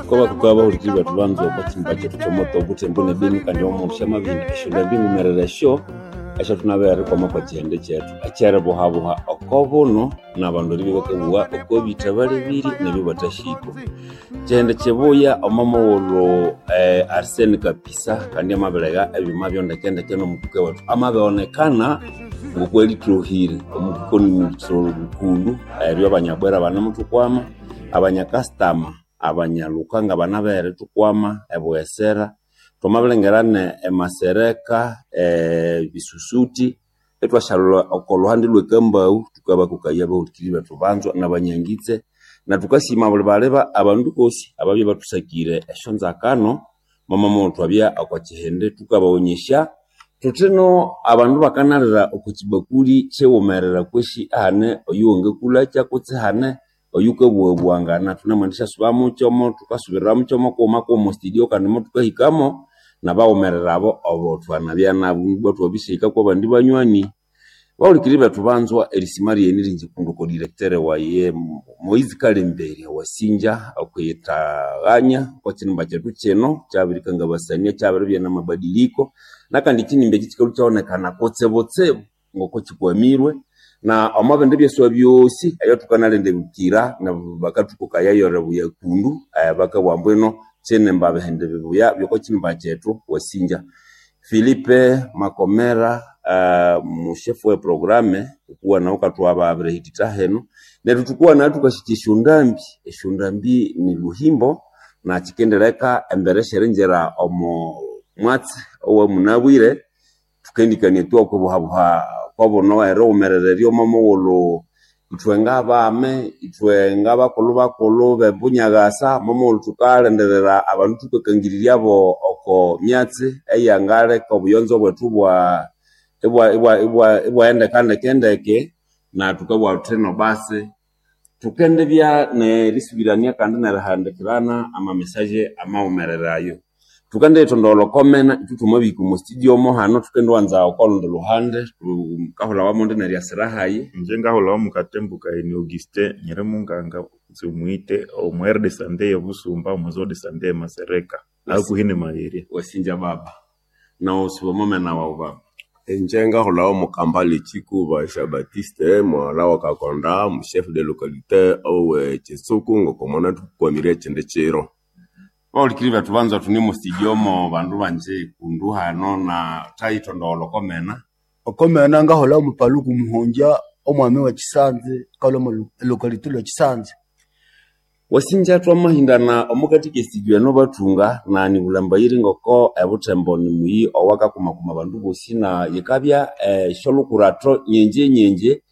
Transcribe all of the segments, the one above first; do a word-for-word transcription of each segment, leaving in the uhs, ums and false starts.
Kobakuka bahulikiri bethu banza okwa kyimba kyethu kyomoto obuthembo ne Beni kandi omundu syamabihina esyondambi enghumerere esyo esyathunabere erikwama kwa kyihindi kyethu ekyeribuhabuha oko buno nabandu eribya bakabugha oko bitha balebirye nebyo bathasyiko. Kyihindi kyibuya omo mughulhu eh, Arsene Kapisa kandi amabilegha ebyuma byo ndekendeke nomutuke wethu amabionekana ngokwalithohire omutuke onimukulhu eryo abanyabwera banemuthukwama, abanyakasitama, abanyalukanga banabeghere erithukwama ebughesera, thwamabilhangira ne emasereka, ebisusuti ithwasyalholha oko lhuhandi lwe Kambaghu thukabakokaya abahulikiriri bethu banzwa nabanyangitse na thukasima abuli baliba abandu bosi ababya ibathusakire esyonzakano momo mughulhu thwabya oko kyihindi thukabaghonyesya thuthi no abandu bakanalira oko kyibakuli kyighumerera kwesi ahane oyuwangakulakya kutse ihane oyukabughabugha thunamwendisyasuba mukyomo thukasubirira mukyomo kughuma kughuma omo studio kandi mothukahikamo nabaghumerera abo obo thwanabya nabo ibwa ithwabisyahika kwabandi banywani. Bahulikiriri bethu banzwa erisima ryene ringi kundi oko directeur waye Moise Kalemberi wasinja okwiyithaghanya okwa kyinimba kyethu kyino kyabirikangabasania kyabiribya namabadiliko nakandi ekyinimba ekyi kyikalhwa ikyabonekana kutsibutsibu ngoko kyikwamirwe na omo bindi byaswa byosi ebyathukanalinda bakathukokaya eribuya kundu bakabugha ambu ino kyinimba bihindi bibuya byoko kyinimba kyethu wasinja. Philipe Makomera uh, mushefu we programe wukuwa nawu wukathuhabya abirihithitha hino neryo thukuwanaya thukasikya esyondambi esyondambi ni luhimbo na kyikendileka embere syeringira omo mwatsi owamunabwire thukendikania tu okwibuhabuha kwobuno erighumerera eryo momughulhu ithwe ngabami ithwe ngabakulhu bakulhu bebunyakasa momughulhu thukalindirira abandu thukakangirirya oko myatsi eyangaleka obuyonzo bwethu ibwa ibwa ibwa ibwaghendeka ndekendeke na thukabugha thuthi ino basi thukendibya nerisubirania kandi nerihandikirana ama message amaghumerere ayo. Thukendiyithondogholha oko mena ithwe thwamabihika omo studio mo hano thukendiwanza oko lundi luhande thukahulhawa mondi neryasira hayi. Ingye ngahulhawa Mukatembu Kagheni Augustin nyiri munganga kutse omughite omu aire de sante eye Busumba omu zone de sante eye Masereka hakuhi ne Magheri. Wasinja baba nawu omomena wawu baba. Inje ngahulhawa Mukambale Kyikuba Jean Baptiste mughalha wa Kakonda mu chef de localité owe Kyitsuku ngoko mwanathukwamire ekyindi kyiro. Bahulikiriri bethu banza thune omo studio mo bandu banje kundu hano na thayithondogholha oko mena. Okomena ngahulhawa Mupaluku Muhongya omwami we Kyisanze kalhwa omo locality lwe Kyisanze. Wasinja thwamahindana omukathika e studio eno bathunga na nibulhambayire ngoko ebuthembo nimuyi owakakumakuma abandu bosi na yikabya esyolhukuratho nyenje nyenje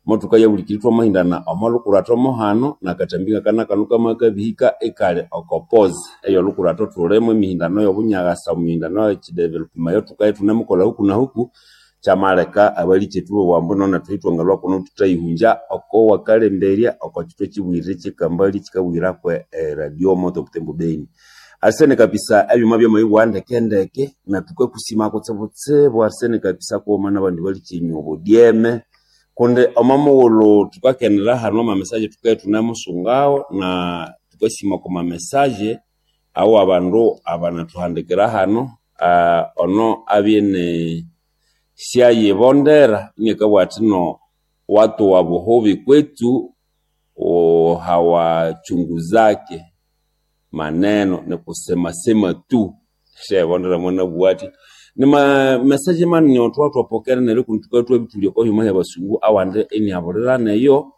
mothukaya bulikiri thwamahindana omo lhukuratho mohano nakathambi ngakanakanu kamakabihika ikali oko pause eyolhukuratho thulimo emihindano eyobunyakasa emihindano eyekyidevelopment eyothukabya ithunemukolha huku na huku kyamaleka abalikethu ibowa ambu ino nethu ithwangalhwa kuno thuthayihungya oko wakalemberya oko kyithwa kyibuyirire kyekambali kyikabuyira kwe radio moto Butembo Beni. Arsene Kapisa ebyuma byamabibugha ndekendeke na thukakusima kutsibutsibu Arsene Kapisa kughuma nabandi balikyenywa obudyeme kundi omo mughulhu thukakenera hano ama message thukabya ithunemusungawo na thukasima oko ma message awo abandu abanathuhandikira hano uh, ono abye ne syayibondera inakabugha athi no watu wa buhubi kwetu hawachunguzake maneno ni kusemasema tu syayibondera mwanabugha athi nima message manene othwathwapokera neryo kundi thukabya ithwabithulya oko hyuma hyabasungu awandi iniabulira neyo.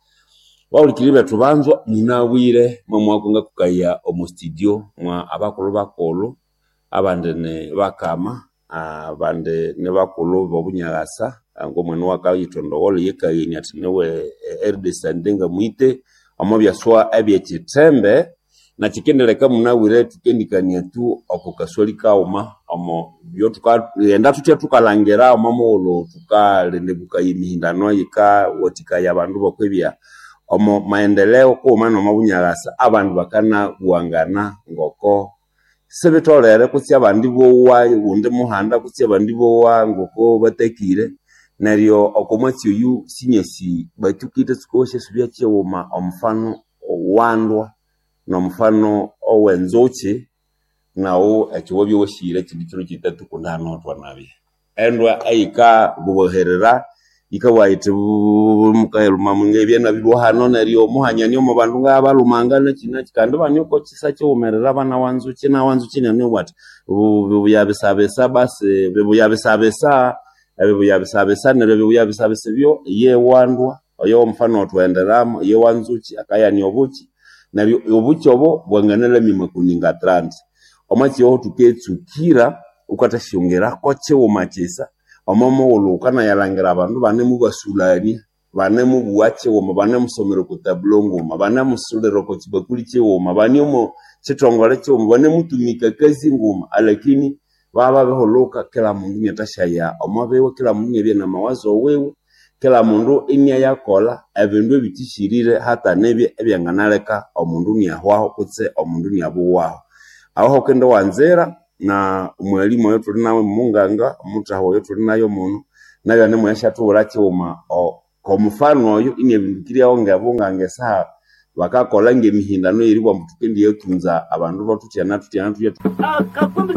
Bahulikiriri bethu banzwa munabwire mwamwako ngakukaya omo studio mwa abakulhu bakulhu abandi ni bakama abandi ni bakulhu bobunyakasa ngomwana owakayithondogholha ye Kagheni athi niwe aire de sante ngamuhite omo byaswa ebyekyithembe na kyikendileka munabwire thukendikania tu oko kaswali kaghuma omo byothukaghenda thuthya thukalhangira omo mughulhu thukalendebukaya emihindano yikawathikaya abandu bokwibya omo maendeleo kughuma nomo bunyakasa abandu bakanabughangana ngoko sibitholere kutse abandi bowa wundi muhanda kutse abandi bowa ngoko batakire neryo oko mwatsi oyu sinyasi bathukite tsuka wasyasubya kyighuma omufano wandwa Nomufano owenzukyi naghu ekyo wabya iwasire ekindi kiro kyithathu kundi hano thwanabya. Endwa eyikabuherera yikabugha yithi buuuu mukayilhuma ngebya nabirilhwa hano neryo muhanyania omo bandu ngayabalhumanga nakyi nakyi kandi ibane oko kyisa kyighumerera banawa nzukyi inawa nzukyi inianamubugha athi bibuya bisabisa basi bibuya bisabisa ebibuya bisabisa neryo ebibuya bisabisa ebyo yewandwa oyo womufano owathughenderamu yewanzukyi akaghania obukyi neryo obukyi obo bwanganalamya amakoni nga thirty omwatsi oyo thuketsukira ghukathasyongera kyighuma kyisa omo mughulhu ghukanayalhangira abandu ibanemubasulhania banemubugha kyighuma banemusomera oko tablo nguma banemusulira oko kyibakuli kyighuma bane omo kyithongole kyighuma banemutumika ekazi nguma alakini bababirihulhuka kila mundu inathasyaya omo biwe kila mundu inabya namawazo wiwe kila mundu inayakolha ebindu ebithisyirire hatanibya ebyanganaleka omundu iniahwaho kutse omundu iniabuwaho aho hukendiwanzira na omwalimu oyothuli nayo omunganga omuthaha oyothuli nayo muno nayo anemuyasyathubwira kyighuma komufano oyo iniabindukiryawo ngebunganga esaha bakakolha ngemihindano eyeribugha ambu thukendiyathunza abandu thuthya na thuthya na thuthya.